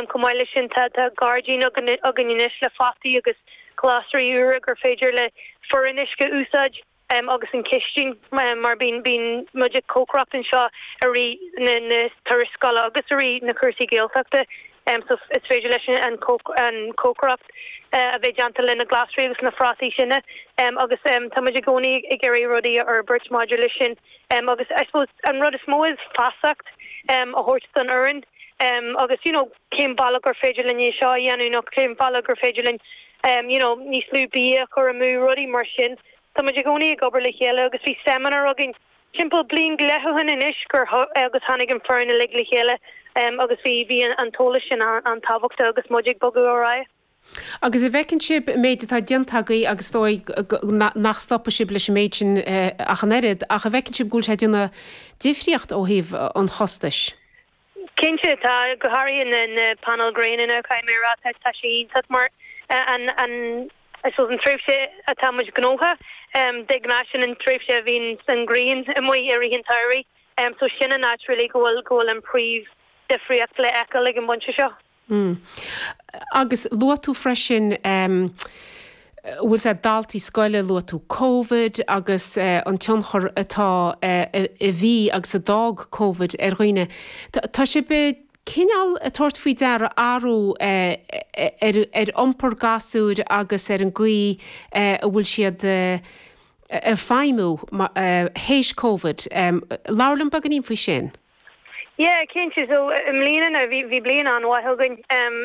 Chomh maith leis sin tá tá gairdín againn anois le fataí agus glasraí úra gur féidir le foireann Uisce a úsáid agus an chistin mar bíonn bíonn muid ag cócaireacht anseo i rith na na turais scoile agus i rith na cúrsaí Gaeltachta so is féidir leis an an cócaireacht a bheith déanta le na glasraí agus na phrátaí sin agus tá muid i gcónaí ag iarraidh rudaí a fhorbairt maidir leis sin agus I suppose an rud is mó is feasacht a thabhairt don fhoireann agus you know cén bealach gur féidir linn é seo a dhéanamh nó cén bealach gur féidir linn you know níos lú bia a chur amú, rudaí mar sin. Tá muid i gcónaí ag obair le chéile agus bhí seimineár againn timpeall bliain go leith ó shin anois gur agus tháinig an foireann uilig le chéile agus bhí bhí an t-eolas sin an-tábhachtach agus muid ag bogadh ar aghaidh. Agus an bhfeiceann sibh an méid atá déanta agaibh agus is dóigh nach stopfaidh sibh leis an méid sin ach an oiread, ach an bhfeiceann sibh go bhfuil sé ag déanamh difríocht ó thaobh an chostais? Cinnte, tá, go háirithe na na painéil gréine now, caithfidh mé a rá, tá tá sé iontach mar an an I suppose an tréimhse atá muid gnóthach, de ghnáth sin an tréimhse a bhíonn an ghrian amuigh i rith an tsamhraidh, so sin an áit really go bhfuil go bhfuil an príomh difríocht le fheiceáil ag an bpointe seo. Mm. Agus luaigh tú freisin, bhfuil 'fhios a'd, daltaí scoile, luaigh tú Covid agus an tionchar atá, a bhí agus a d'fhág Covid ar dhaoine. Tá sibh cineál ag tabhairt faoi deara athrú ar ar iompar gasúir agus ar an gcaoi a bhfuil siad ag feidhmiú théis Covid. Labhair liom beagáinín faoi sin. Yeah, cinnte. So, i mbliana now, bhí, bhí bliain an-mhaith againn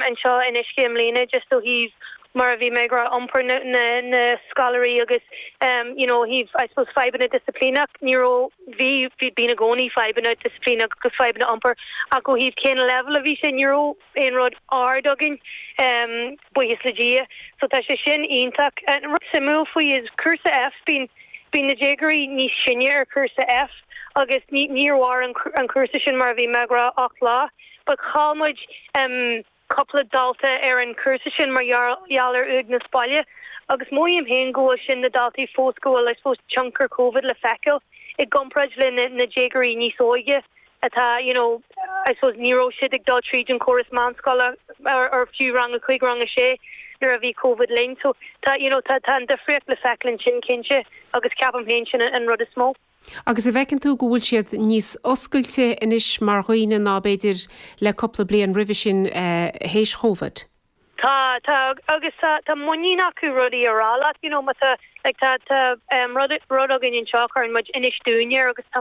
anseo in Uisce i mbliana just ó thaobh, mar a bhí mé ag rá, iompar na, na, na scoláirí agus you know, ó thaobh, I suppose, fadhbanna disciplíneach, ní raibh, bhí, bhí, bíonn i gcónaí fadhbanna disciplíneach agus fadhbanna iompair ach ó thaobh cén leibhéal a bhí sé, ní raibh aon rud ard againn, buíochas le Dia. So tá sé sin iontach. An rud suimiúil faoi is cúrsa F, bíonn, bíonn na déagóirí níos sine ar chúrsa F agus ní, níor mhair an, an cúrsa sin mar a bhí mé ag rá 8 lá. But chaill muid cúpla dalta ar an chúrsa sin mar gheall ar uaigneas baile agus mothaím féin go bhfuil sin na daltaí fós go bhfuil I suppose tionchar Covid le feiceáil i gcomparáid le na, na déagóirí níos óige. atá, you know, I suppose ní raibh siad ag dul tríd an córas meánscoile or, or fiú rang a 5, rang a 6 nuair a bhí Covid linn. So tá, you know, tá, tá an difríocht le feiceáil ansin cinnte agus ceapaim féin sin an rud is mó. Agus an bhfeiceann tú go bhfuil siad níos oscailte anois mar dhaoine ná b'fhéidir le cúpla bliain roimhe sin théis Chóvid? Tá, tá, agus tá, tá muinín acu rudaí a rá leat, you know, má tá, like tá, tá rud, rud againn anseo, cuireann muid inis dúinn air agus tá.